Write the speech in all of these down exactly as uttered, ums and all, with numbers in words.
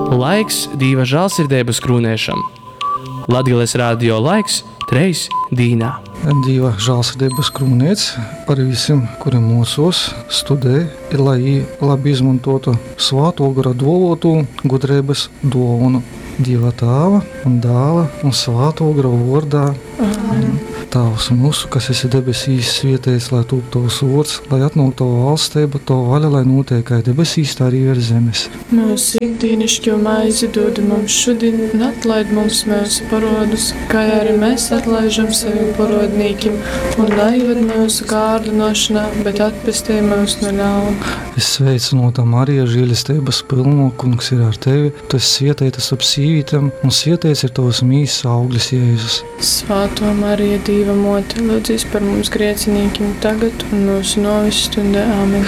Laiks Dīva žālsirdeibas krūnēšam. Latgales radio laiks treis dīnā. Dīva žālsirdības krūnēts par visiem, kuri mocos, studē, ir lai jī labi izmantotu svāto gara duovotu gudrības dovanu. Dieva Tāva un Dāla un Svāto gara vordā. Amen. Tēvs mūsu, kas esi debesīs, svētīts lai tūp tavs vārds, lai atnāk tava valstība, tava vaļa, lai notiek kā debesīs, tā arī virs zemes. Mūsu ikdienišķo maizi dod mums šodien, un atlaid mums mūsu parodus, kā arī mēs atlaižam saviem parodnīkim, un neieved mūsu kārdinošanā, bet atpestī mūs no ļauna. Es sveicinota Marija, žēlestības pilno, kungs ir ar tevi, tu esi svētīta starp sīvītēm, un svētīts ir tavs mīsas auglis Jēzus. Svētā Marija, Dieva mote, lūdzies par mums grēciniekiem tagad un mūsu nāves stundē. Āmen.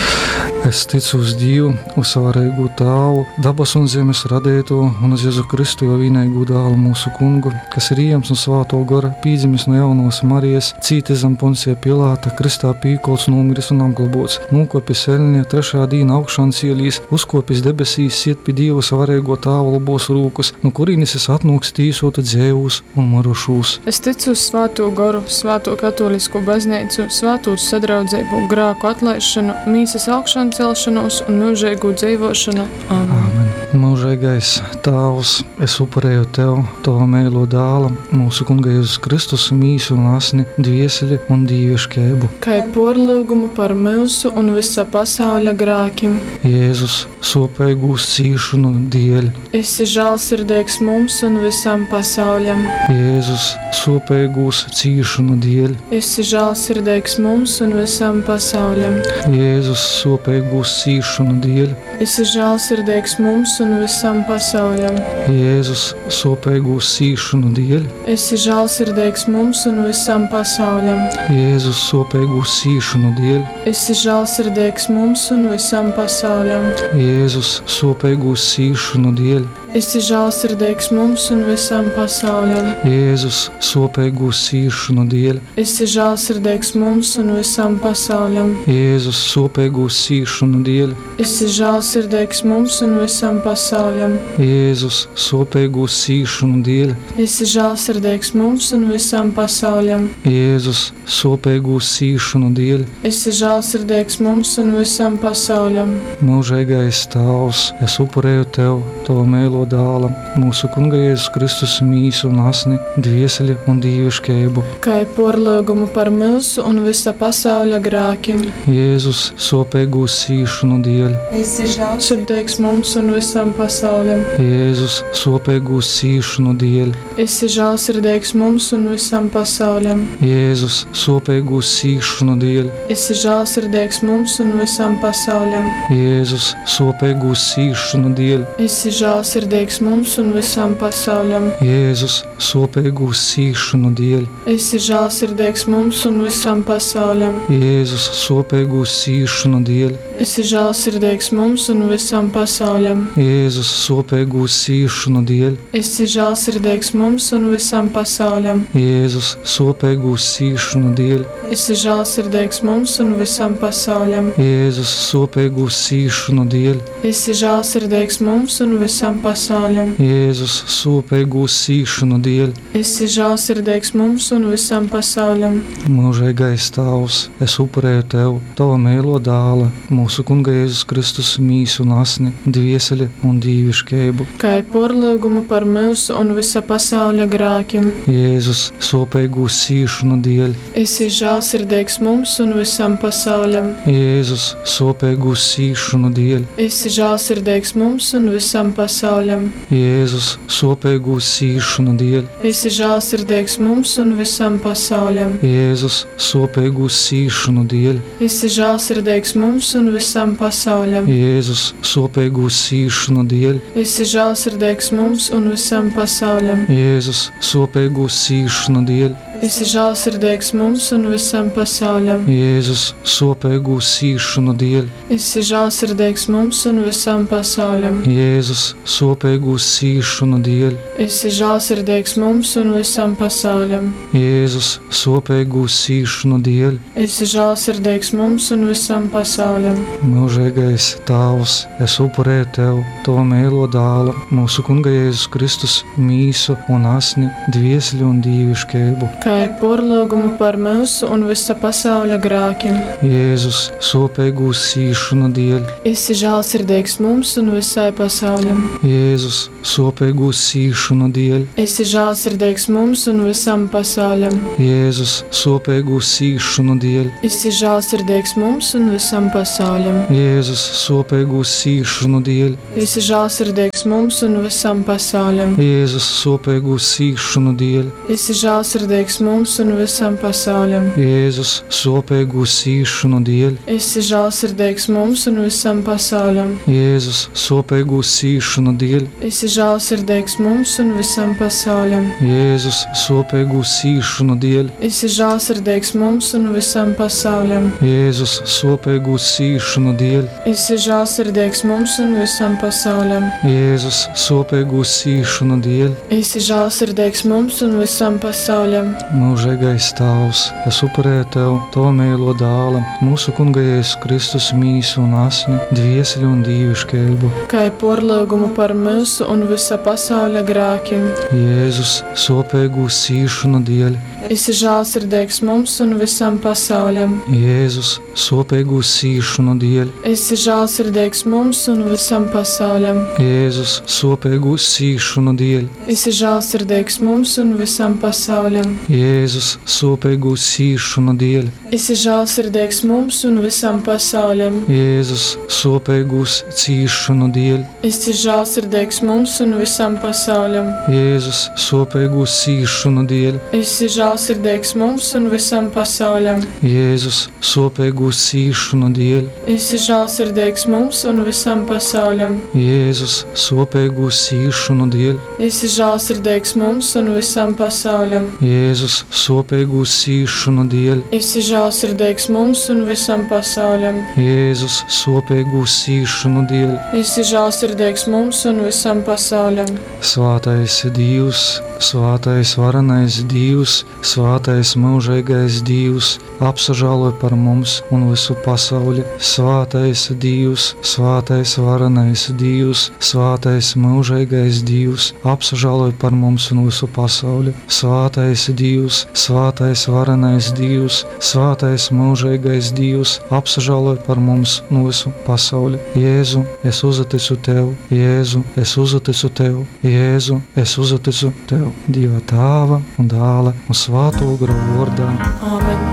Es ticu uz Dievu, uz savarīgu Tēvu, dabas un zemes radīto, un uz Jēzu Kristu, jo vienīgo dēlu mūsu kungu, kas ir iems un svāto gara, pīdzimis no jaunos Marijas, cītis zem Poncija Pilāta, kristā pīkolts, nomiris un apglobots, nokopis eļņa, trešā dīna augšām cielīs, uzkopis debesīs, siet pie Dieva savarīgo Tēva labos rūkus, no kurienes es atnāks tīsotu dzēvus un marušūs. Es ticu uz Svēto goru, Svēto katolisko baznīcu, svētūs sadraudzību, grēku atlaišanu, mīsas augšām celšanos un mūžīgu dzīvošanu. Āmen. Āmen. Mūžīgais Tēvs, es upurēju Tev, Tava mīlo dēla, mūsu Kunga Jēzus Kristus mīsu un asni, dvieseli un dīviškību. Kā porlūgumu par mūsu un visa pasauļa grēkiem. Jēzus, sopīgūs cīšanu dēļ. Esi žēlsirdīgs mums un visam pasauļam. Jēzus, sopīgūs cīšanu dēļ. Esi žēlsirdīgs mums un visam pasauļam. Jēzus, sopīgūs cīšanu dēļ. Esi žēlsirdīgs mums un visam pasauļam. Jēzus, sopīgūs cīšanu dēļ. Esi žēlsirdīgs mums un visam pasauļam. Jēzus, sopīgūs cīšanu dēļ. Esi žēlsirdīgs mums un visam pasauļam. Jēzus, sopīgūs cīšanu dēļ. Esi žēlsirdīgs mums un visam pasauļam. Jēzus, sopīgūs cīšanu dēļ. Esi žēlsirdīgs mums un visam pasauļam. Jēzus, sopīgūs cīšanu dēļ. Esi žēlsirdīgs mums un visam pasauļam. Jēzus, sopīgūs cīšanu dēļ. Esi žēlsirdīgs mums un visam pasauļam. Jēzus, sopīgūs cīšanu dēļ. Esi žēlsirdīgs mums un visam pasauļam. Mūžīgais Tēvs, es upurēju Tev, Tava mīlo dēla, mūsu Kunga Jēzus Kristus mīsu un asni, dvieseli un dīviškību. Kā porlūgumu par mūsu un visa pasauļa grēkiem. Jēzus, sopīgūs cīšanu dēļ. Esi žēlsirdīgs mums un visam pasauļam. Jēzus, sopīgūs cīšanu dēļ. Esi žēlsirdīgs mums un visam pasauļam. Jēzus, sopīgūs cīšanu dēļ. Esi žēlsirdīgs mums un visam pasauļam. Jēzus, sopīgūs cīšanu dēļ. Esi žēlsirdīgs mums un visam pasauļam. Jēzus, sopīgūs cīšanu dēļ. Esi žēlsirdīgs mums un visam pasauļam. Jēzus, sopīgūs cīšanu dēļ. Esi žēlsirdīgs mums un visam pasauļam. Jēzus, sopīgūs cīšanu dēļ. Esi žēlsirdīgs mums un visam pasauļam. Jēzus, sopīgūs cīšanu dēļ. Esi žēlsirdīgs mums un visam pasauļam. Jēzus, sopīgūs cīšanu dēļ. Esi žēlsirdīgs mums un visam pasauļam. Jēzus, sopīgūs cīšanu dēļ. Esi žēlsirdīgs mums un visam pasauļam. Mūžīgais Tēvs, es upurēju Tev, Tava mīlo dēla, mūsu Kunga Jēzus Kristus mīsu un asni, dvieseli un dīviškību. Kā porlūgumu par mūsu un visa pasauļa grēkiem. Jēzus, sopīgūs cīšanu dēļ. Esi žēlsirdīgs mums un visam pasauļam. Jēzus, sopīgūs cīšanu dēļ. Esi žēlsirdīgs mums un visam pasauļam. Jēzus, sopīgūs cīšanu dēļ. Esi žēlsirdīgs mums un visam pasauļam. Jēzus, sopīgūs cīšanu dēļ. Esi žēlsirdīgs mums un visam pasauļam. Jēzus, sopīgūs cīšanu dēļ. Esi žēlsirdīgs mums un visam pasauļam. Jēzus, sopīgūs cīšanu dēļ. Esi žēlsirdīgs mums un visam pasauļam. Jēzus, sopīgūs cīšanu dēļ. Esi žēlsirdīgs mums un visam pasauļam. Jēzus, sopīgūs sōpeigūs cīsšonu dēļ. Esi žālsirdīgs mums un visam pasauļam. Jēzus, sōpeigūs cīsšonu dēļ. Esi žālsirdīgs mums un visam pasauļam. Mūžīgais Tāvs, es upurēju Tev Tava mīlo dāla, mūsu Kunga Jēzus Kristus mīsu un asni, dvieseli un dīviškību. Kā ir porlūgumu par mūsu un visa pasauļa grākiem. Jēzus, sōpeigūs cīsšonu dēļ. Esi žālsirdīgs mums un visai pasauļam. Jēzus, sōpeigūs cīsšonu dēļ. Esi žālsirdīgs mums un visam pasauļam. Jēzus, sōpeigūs cīsšonu dēļ. Esi žālsirdīgs mums un visam pasauļam. Jēzus, sōpeigūs cīsšonu dēļ. Esi žālsirdīgs mums un visam pasauļam. Jēzus, sōpeigūs cīsšonu dēļ. Esi žālsirdīgs mums un visam pasauļam. Jēzus, sōpeigūs cīsšonu dēļ. Esi žālsirdīgs mums un visam pasauļam. Jēzus, sōpeigūs cīsšonu dēļ. Esi žālsirdīgs mums un visam pasauļam. Jēzus, sōpeigūs cīsšonu dēļ. Esi žālsirdīgs mums un visam pasauļam. Jēzus, sōpeigūs cīsšonu dēļ. Esi žālsirdīgs mums un visam pasauļam. Jēzus, sōpeigūs cīsšonu dēļ. Esi žālsirdīgs mums un visam pasauļam. Mūžīgais Tēvs, es upurēju Tev Tava mīlo dāla, mūsu Kunga Jēzus Kristus mīsu un asni, dvieseli un dīviškību. Kā ir porlūgumu par mūsu un visa pasauļa grākiem. Jēzus, sōpeigūs cīsšonu dēļ. Esi žālsirdīgs mums un visam pasauļam. Jēzus, sōpeigūs cīsšonu dēļ. Esi žālsirdīgs mums un visam pasauļam. Jēzus, sōpeigūs cīsšonu dēļ. Esi žālsirdīgs mums un visam pasauļam. Jēzus, sōpeigūs cīsšonu dēļ. Esi žālsirdīgs mums un visam pasauļam. Jēzus, sōpeigūs cīsšonu dēļ. Esi žālsirdīgs mums un visam pasauļam. Jēzus, sōpeigūs cīsšonu dēļ. Esi žālsirdīgs mums un visam pasauļam. Jēzus, sōpeigūs cīsšonu dēļ. Esi žālsirdīgs mums un visam pasauļam. Jēzus, sōpeigūs cīsšonu dēļ. Esi žālsirdīgs mums un visam pasauļam. Jēzus, sōpeigūs cīsšonu dēļ. Esi žālsirdīgs mums un visam pasauļam. Jēzus, sōpeigūs cīsšonu dēļ. Esi žālsirdīgs mums un visam pasauļam. Svātais Dievs, svātais varenais Dievs, svātais mūžīgais Dievs, apsažāloj par mums un visu pasauli. Svātais Dievs, svātais varenais Dievs, svātais mūžīgais Dievs, apsažāloj par mums un visu pasauli. Svātais Dievs, svātais varenais Dievs, svātais mūžīgais Dievs, apsažāloj par mums un visu pasauli. Jēzu, es uzticu Tev, Jēzu, es uzticu Tev, Jēzu, es uzticu Tev. Dieva Tēva un Dēla un Svēto Gara vārdā. Āmen.